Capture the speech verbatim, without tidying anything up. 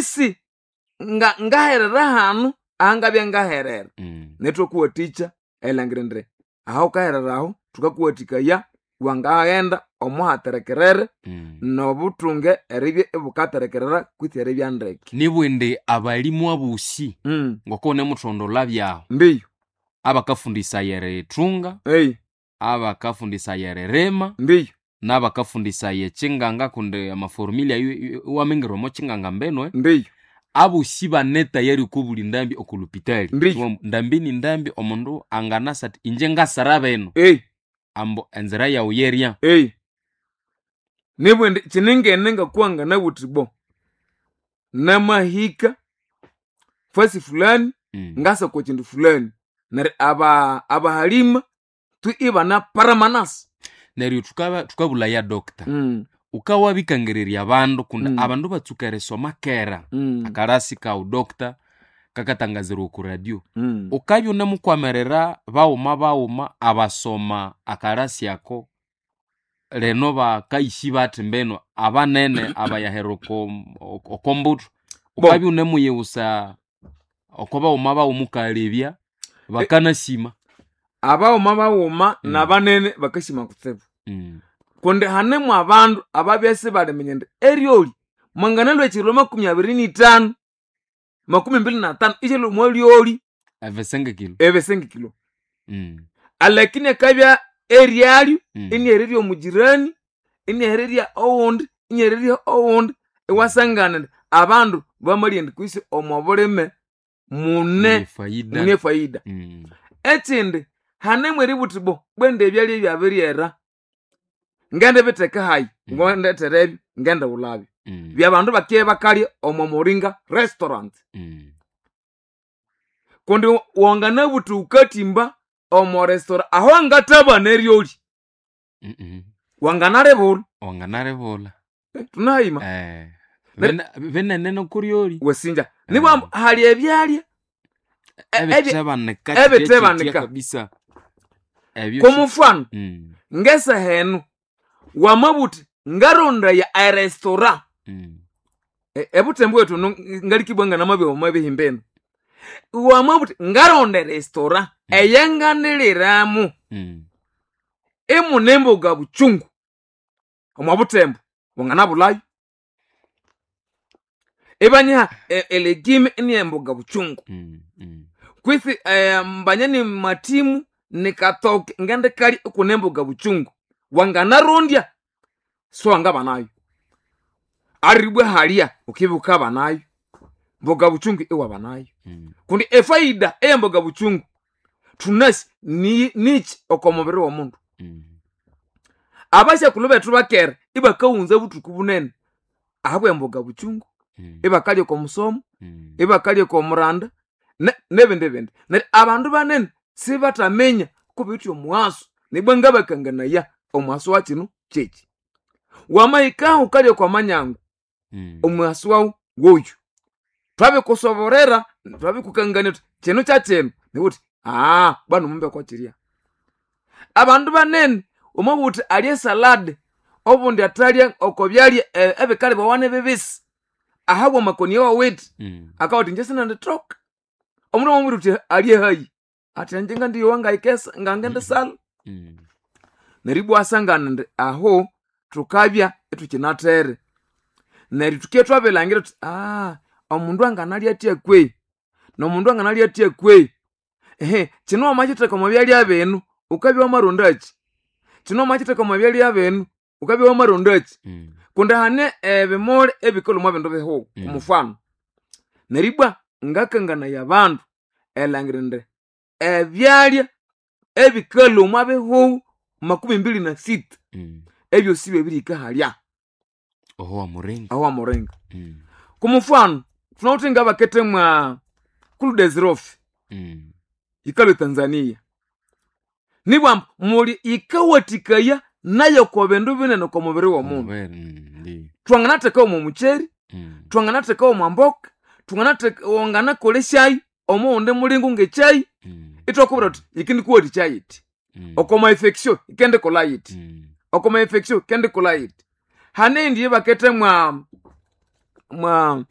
Kwisi nga ngaherera hanu ahangabya ngaherera. Mm. Netwakuwathikya erilhangira indi aho wukaherera aho thukakuwathikaya wangaghenda omuhaterekerere Mm. nobuthunge eribya ibukaterekerera kwitsi eribya ndeke. Nibwindi abalimu abosi Mm. ngoko wunemuthondolha byahu Ndiyo. abakafundisaya erithunga Ei, abakafundisaya eririma ndiyo. n'abakafundisaya ekyinganga kundi amaformula ayo iwamingira omo kyinganga mbinu Ndiyo. abosi bane tayari okobuli ndambi okolupitali Ndiyo. ndambi ni ndambi omundu anganasa ati inje ngasara bino Ei, ambu enzira yawu yerya ei. Nibwindi kyiningene ngakuwa nganabuthi bo. Namahika fasi fulani Mm. ngasa kwa kindu fulani. Neryo aba abahalima tu ibana paramanasi. Neryo thukaba- thukabulaya doctor Mm. wukawabikangirirya abandu kundi Mm. abandu batsuka erisoma kera Mm. akarasi kawu doctor kakatangazirwa oku radio Mm. ukabya unemukwamirira baghuma baghuma abasoma akarasi ako leno bakaishi bathi mbino abanene abayahera oko okombuthu Bo. ukabya unemuyiwusa oko baghuma baghuma ukalebya bakanasima Abaghuma baghuma Mm. nabanene bakasima kutsibu. Mm. Kundi hanemu abandu ababya sibaliminya indi eryoli mwanganalwa ekiro makumi abiri nithanu makumi mbili na tanu isyalwa omwa lyoli ebisengekilo ebisengekilo. Mm. Alakini akabya eryalyo Mm. inyahererya omugirani inyahererya owundi inyahererya owundi iwasangana indi abandu bamalya indi kwisi omo bulime mune Mune faida mune faida. Mm. Ekindi hanemu eributhi bo bwende ebyalya ebyabiryera ngendibitheka hayi Mm. ngondetherebyo ngendighulabyo. Mm. Byabandu bakye bakalya omo muringa restaurant. Mm. Kundi wanganabuthi wukathimba omo restaurant aho angathabana eryoli Mm -mm. wanganalibulha. Wanganalibulha Thunahayima. Eh, Ner- bene- binene nokuryoli Wasinja. Nibwa hali ebyalya ebi- ebitebanika ebitebanika. kabisa ebyo Kwamufano Mm, ngesaha eno wamabuthi ngarondaya erestaurant mm, E- ebuthembu bwethu no ngalikibwa nganamabya omwabihimba eno. Wamabuthi ngaronda erestaurant eyanganiliramu mm. imune emboga buchungu omwa buthembu wanganabulhayo. Ibanyiha e- elegime iniyemboga buchungu. Mm, mm. Kwisi eh, mbanya ni matimu nikatoke ngendikalya ikune emboga buchungu wanganarondya siwangabanayo. Aribwa halya ukibya wukabanayo mboga buchungu iwabanayo. Mm. Kundi efaida eyemboga buchungu thunasi ni niki oko mubiri w'omundu. Mm. Abasyakulhu bethu bakera ibakawunza buthuku bunene ahabwa emboga buchungu Mm. ibakalya oko musomo Mm. ibakalya oko muranda ne- nebindi bindi. Neryo abandu banene sibathaminya kubiwithe omughaso nibwa ngabakanganaya omughaso wa kino kyeki. Wamahikaho wukalya okwa manyangu Mm. omughaso wawu woyu. Twabikusoborera twabikukangania thuthi kino kyakyino niwuthi aa bwanu mumbe kwakirya. Abandu banene wamabugha wuthi alye esalad obundi athalya oko byalya e- ebikalibwawa nibibisi ahabwa amakoni awawithe Mm. akabugha athi inje sinendithoka. Omundu wamubwira wuthi alye hayi athi inje ngandiyowa ngayikesa ngangendisalha. Mm. Neryo ibwa wasangana indi aho thukabya ithukinathere. Neryo thuke thwabilhangira thuthi aa omundu anganalya athya kwehi nomundu anganalya athya kwehi. Ehe kino wamakyitheka omo byalya binu wukabya wamarondakyi? Kino wamakyitheka omo byalya binu wukabya wamarondakyi? Mm. Kundi hane ebimuli ebikalhwa omwa bindu bihugho Mm. omufano. Neryo ibwa ngakanganaya abandu erilhangira indi ebyalya ebikalhwa omwa bihugho makumi mbili na sita Mm. ebyosi byabirihika halya Oho wamuringa aho wamuringa. Mm. Kumufano thunawithe ngabakethemwa kuludesirofi Mm. yikalhwa etanzania. Nibwa ambu muli yikawathikaya nayo oko bindu binene oko mubiri w'omundu. Mubere, mm, ndiyo. Twanganathekawo omwa mukyeri, Mm. twanganathekawo omwa mboka, twanganatheka wanganakolesyayo omowundi mulingo ngekyayi Mm. ithwakubwira thuthi yikindikuwathikya yithi. Mm. Oko ma infection yikendikolha yithi. Mm. Oko ma infection yikendikolha yithi. Hane eyindi eyabakethe mwa mwa